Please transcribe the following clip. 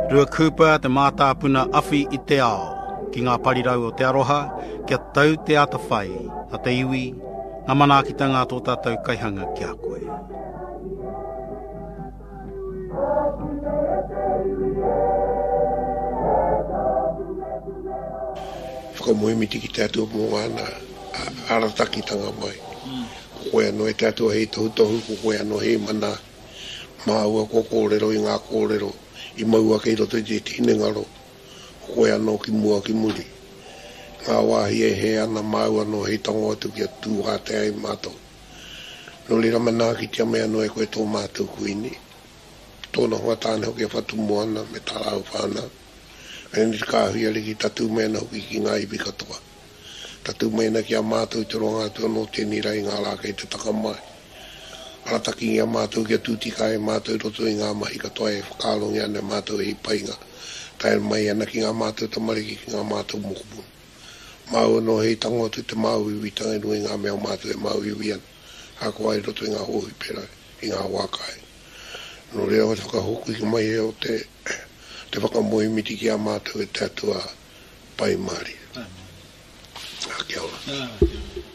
Ruakūpa te mātāpuna awhi i te ao, ki ngā parirau o te aroha, kia tau te atawhai a te iwi, ngā manaakitanga a tō tātou kaihanga ki a koe. Whakamoemiti ki te Atua mō ngāna aratakitanga mai. Ko koe anō e te Atua hei tohutohu, ko koe anō hei mana. Māua kua kōrero i ngā kōrero i mau ake i roto i te hinengaro, ko koe anō ki mua ki muri. Ngā wāhi e hē ana māu anō hei tango atu kia tū wātea ai mātou. Nō reira manaakitia mai anō e koe tō mātou Kuini, tōna hoa tāne hoki a Whatumoana me tā rāua whānau, me te kāhui ariki tatū mai ana hoki ki ngā iwi katoa. Tatū mai ana ki a mātou i te roanga atu anō tēnei rā i ngā rā kei te taka mai. Aratakingia mātou kia tū tika ai mātou i roto i ngā mahi katoa e whakaarongia ana e mātou hei painga, tae mai ana ki ngā mātou tamariki, ki ngā mātou mokopuna. Māu anō hei tango atu te māuiuitanga i runga i ngā mea o mātou e māuiui ana, ahakoa i roto i ngā hōhipera, i ngā wā kāinga. Nō reira ko te whakahoki mai o te te whakamoemiti ki a mātou e te Atua Pai Mārire. Ā, kia ora.